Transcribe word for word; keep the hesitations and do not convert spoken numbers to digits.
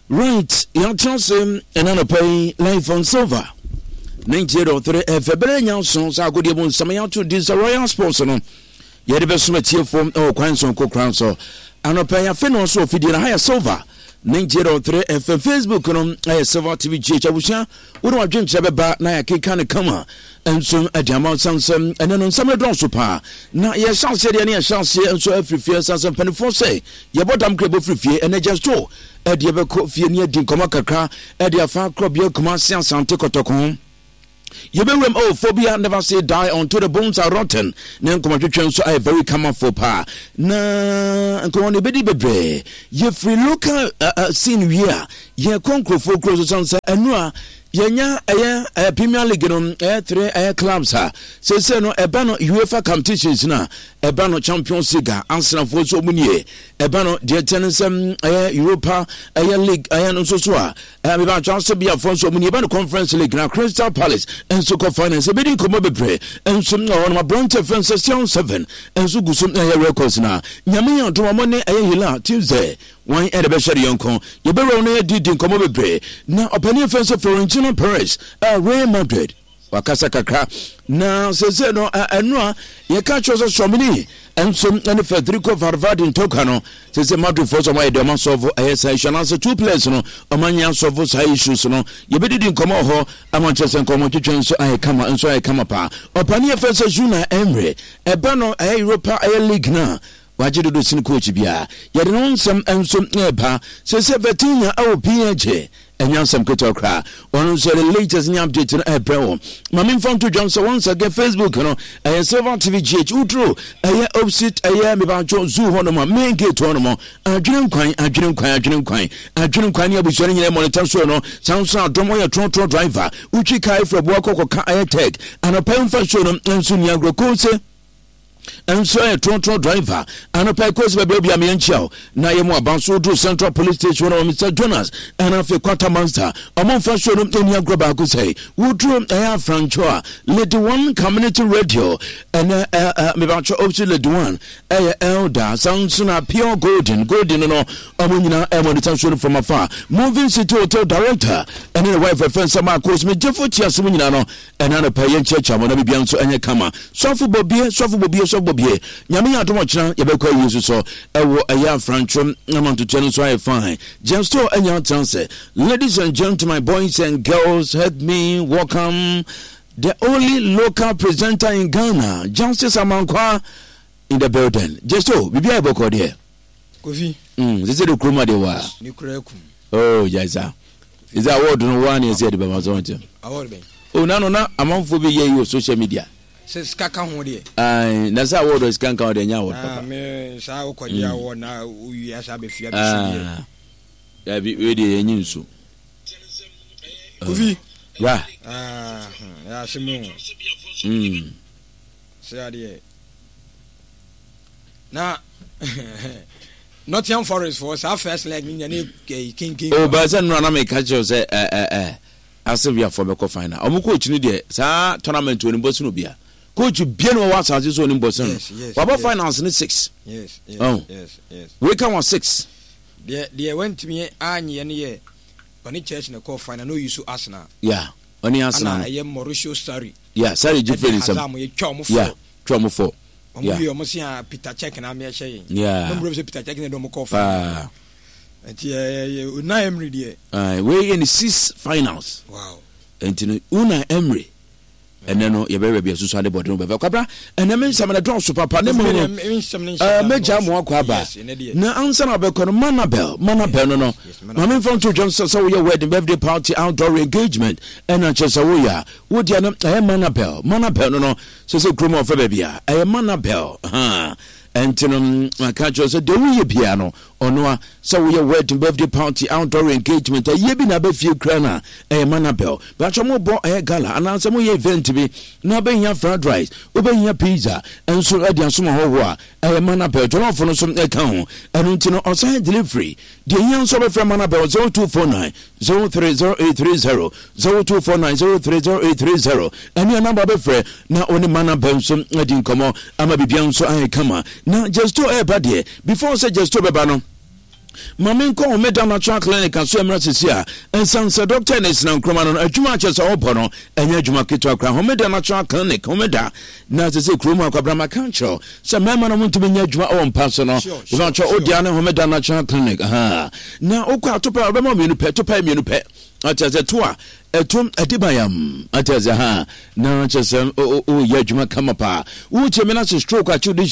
Right, yɛatena ase ɛna anɔpa yi live on Silver ninety-eight point three F M. Bɛrɛ nya nson sɛ agodeɛ mu nsɛm yɛato din sɛ Royal Sports no, yɛde bɛsom atiefoɔ ɛwɔ kwan sonko kran so anɔpa yi. Afei na ɔso afidie no ha yɛ Silver ninety-eight point three F M. Facebook no ɛyɛ Silver T V G H. Abusua, wode wadwenkyerɛ bɛba na yɛakeka ne kama nso ɛde ama nsansɛm. Ɛnɛ no nsɛm no dɔɔso paa na yɛhyɛ aseɛ deɛ ne yɛhyɛ aseɛ nso afiri fie. Nsansɛm mpanimfoɔ sɛ yɛbɔ dam kora ɛbɔ firi fie. Ɛnɛ gya so ɛde yɛbɛkɔ fie ne adi nkɔmmɔ kakra ɛde afa korɔbea Kumase Asante Kɔtɔkɔ. Yɛbɛwuram oh, phobia never say die until the bones are rotten. Ne nkɔmmɔtwetwe nso ayɛ very camafo paa na nkɔmmɔ no yɛbɛdi bebree. Yɛfiri local uh, uh, scene wie a, yɛkɔ nkurɔfoɔ kuro so sane sɛ ɛno a yɛnya ɛyɛ ɛyɛ Premier League no, ɛyɛ three ɛyɛ clubs a seesei no ɛba no UEFA competitions no a ɛba no Champions League a Arsenalfoɔ nso ɔmu nie. Ɛba no deɛ kyɛ no sɛ ɛyɛ Europa ɛyɛ League ɛyɛ no nso so a ɛyɛ mebatwa ase biafoɔ nso ɔmu nie. Ɛba no Conference League na Crystal Palace nso kɔ finals. Ɛbɛdi nkɔmmɔ bebree nso na hɔ nom. Aberante fɛn sɛ Sion seven nso gu so ɛyɛ records na Nyame yɛ adom ɔmo ne ɛyɛ Hilal Tuesday wɔn ɛde bɛhyɛ de yɔnko. Yɛbɛwura no yɛdi di nkɔmmɔ bebree na ɔpanin fɛn sɛ Florentino Perez a Real Madrid wakasa kakra na sese no ɛno a yɛka kyerɛ sɛ Tchouameni nso ne Federico Valverde ntɔkwa no, sese Madrid fo sɛ ɔmo ayɛ deɛ ɔmo asɔfo ɛyɛ saa issue anaasɛ two players no ɔmo anyɛ asɔfo saa issues no. Yɛbɛdidi nkɔmmɔ wɔ hɔ ama kyerɛ sɛ nkɔmmɔ twetwe nso ayɛ kama, nso ayɛ kama paa. Ɔpanin yɛfɛ sɛ Unai Emery ɛbɛ no ɛyɛ Europa ɛyɛ League no a wagye dodo sin coach biara, yɛde ne ho nsɛm nso ɛreba. Sese Vitinha ɛwɔ P S G, ɛnyɛ asɛm ketewa koraa. Ɔno nso yɛde latest ne update no ɛbrɛ wɔ. Ma memfa nto dwam sɛ once again Facebook no ɛyɛ Silver T V G H. Woduro ɛyɛ opposite ɛyɛ mebatwo zoo hɔ nom a main gate hɔ nom, Adwene Nkwan, Adwene Nkwan, Adwene Nkwan, Adwene Nkwan ne abusua no nyinaa monitor so no. Saa nso adɔm ɔyɛ trɔtrɔ driver, wotwi kaa efra boa kɔkɔka ɛyɛ tech anɔpa mfa show no nso ni agorɔ kose nso yɛ trɔtrɔ driver anɔpa kɔsi baabi obi a meɛnkyia wo na yɛ mu aba so. Woduru Central Police Station na Mister Jonas ɛna afei Quarter Master ɔmo mfa show no ani agorɔ baako sɛ woduru ɛyɛ Afrancho a Lady One Community Radio ɛnɛ ɛɛ mebatwɛ opposite Lady One ɛyɛ Elder. San so na Pure Golden Golden no ɔmo nyinaa ɛmo de show no from afar. Moving City Hotel director ɛne ne wife ɛfɛn sɛ Maakos megyefo tia so mu nyinaa no, ɛna no pɛ yɛnkyerɛkyerɛ mo na biribia nso ɛnyɛ kama. Sɔfo Bɔbie, Sɔfo Bɔbie, Sɔfo Bɔbie, Nyame yɛ adom ɔkyena yɛbɛkɔ awie nso so ɛwɔ ɛyɛ Afrantwom ama ntotoa no nso ayɛ fine. Jesto anya atena sɛ ladies and gentlemen, boys and girls, help me welcome the only local presenter in Ghana, Justice Amankwa in the building. Jesto, biribi ayɛ bɔkɔ deɛ? Kofi. mm, sɛ sɛ de kurom adeɛ wɔ a ne kura kum. Oh, gyasa ɛsɛ award no waa ne ɛsɛ yɛde bɛma so nkyɛn. Award bɛn? Oh, nano na amanfoɔ bi yɛ yi wɔ social media. Sɛ sika ka ho deɛ. Ayi, na sɛ award sika nka ho deɛ, nyɛ award papa. Me saa wokɔgye award na wowie asa abɛfia bɛsu deɛ. Dabi, wei deɛ yɛnyi nso. Kofi. Ra. Yɛ asɛm o. Mm. Sɛ adeɛ na Nottingham Forest for saa first leg ni nya ne kinkin. O ba sɛ nnora na meka kyerɛw sɛ ɛ ɛ ɛ Aseviafoɔ bɛkɔ final. Ɔmo coach no deɛ, saa tournament onim bɔ sino bia coach bia no wɔwɔ asase so onim bɔ sino no. Wabɔ finals ne six. yes yes oh. yes yes Wei ka wɔ six. Deɛ deɛ wantumi anyɛ no yɛ ɔne Chelsea na kɔɔ final na oyi so Arsenal. Yeah, ɔne Arsenal. Ana ɛyɛ Mauricio Sarri. Yeah, Sarri gye fɛ ne nsam. Ɛde Hazard yɛ twa ɔmo fɔ. Yeah, twa ɔmo fɔ. Ɔmo wie ɔmo se a Peter Cech na ameɛ hyɛ yɛn. Yeah. Na ɔmo sɛ Peter Cech na ɛde ɔmo kɔɔ final. Nti ɛyɛ Unai Emery deɛ. Uh, wei yɛ ne six finals. Wow. Nti no Unai Emery ɛnɛ no yɛbɛyɛ baabi asusu ade bɔde no bɛfɛ kwabra. Ɛnɛ me nsɛm no dɔɔso papa ne mu no mɛgya mo akɔ aba na ansa na wobɛkɔ no, Manabel, Manabel no no ma memfa nto dwam sɛ sɛ woyɛ wedding, birthday party, outdoor engagement ɛna kyerɛ sɛ woyɛ a wodeɛ no ɛyɛ Manabel. Manabel no no sɛ sɛ kurom a ɔfɛ baabi a ɛyɛ Manabel ha. Ɛnti no maka kyerɛ sɛ deɛ woyɛ biara no ɔno a sɛ woyɛ wedding, birthday party, outdoor engagement, ayie bi na abɛfie kura no a ɛyɛ Manabel. Bɛatwɛ mobɔ ɛyɛ gala anaasɛ moyɛ event bi na wobɛhia fried rice, wobɛhia pizza nso de asom ahɔhoɔ a, ɛyɛ Manabel. Jollof no nso ɛka ho. Ɛno nti no ɔsan delivery deɛ hia nso wobɛfrɛ Manabel zero two four nine zero three zero eight three zero, zero two four nine zero three zero eight three zero. Ɛne anamba bɛfrɛ na wo ne Manabel nso adi nkɔmmɔ ama biribia nso ayɛ kama. Na Jesto ɛɛba deɛ, before sɛ Jesto bɛba no Ma menkɔ Homeda Natural Clinic aso mmra sisi a ɛnsan sɛ dɔkta ne sena nkroma no no adwuma akyɛ sɛ ɔbɔ no ɛnyɛ adwuma ketewa koraa. Homeda Natural Clinic, Homeda na sɛ sɛ kurom akwabra ma ka nkyerɛw sɛ mmarima no montumi nyɛ adwuma ɛwɔ mpa so no ɛbɛkyɛ wodea ne Homeda Natural Clinic ha na wokɔ atopɛ ɔbɛma mmienu pɛ, topɛ mmienu pɛ akyɛ sɛ to a ɛto ɛde bayam akyɛ sɛ ha na kyɛ sɛ woyɛ adwuma kama paa. Wokyɛ me no ase stroke akyew de